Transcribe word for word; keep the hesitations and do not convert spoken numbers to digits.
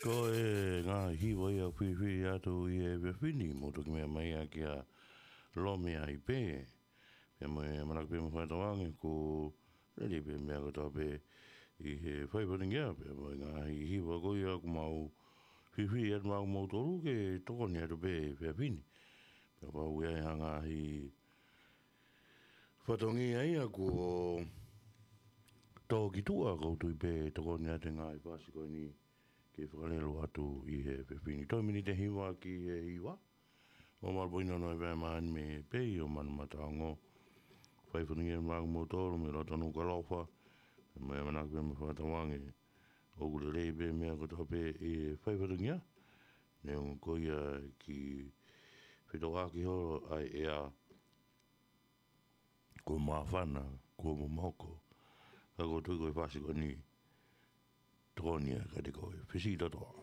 Ko e ngaahi hiva ia ʻoku fifili atu ʻi he efiafi ni, mou toki meʻa mai ā kia Lomi ai pē. Pea mo e ʻamanaki pē mo fakatauange kuo lelei pē meʻa kotoa pē ʻi he fai fatongia, pea mo e ngaahi hiva ko ia ʻoku mau fifili atu maʻa moutolu ke tokoni atu pē he efiafi ni. Pea kapau ʻoku ʻi ai ha ngaahi fatongia ia kuo tō ki tuʻa, ʻoku ou tui pē tokoni atu e ngaahi fasi ko eni ke fakalele atu ʻi he efiafi ni. Toe miniti ʻe hiva ki he hiva. ʻOku mālō pē ʻi he nono e pea mani me pei ʻo Manu Mataongo. Fai fatongia maʻa moutolu mei loto Nukuʻalofa. Mo e ʻamanaki pē mo fakatauange ʻoku lelei pē meʻa kotoa pē ʻi he fai fatongia. Neongo ko ia ki fetōʻaki holo ʻa e ʻea, kuo māfana, kuo momoko. Ka ʻoku ou tui ko e fasi ko eni tokoni ia kiate koe. Fisi totoa.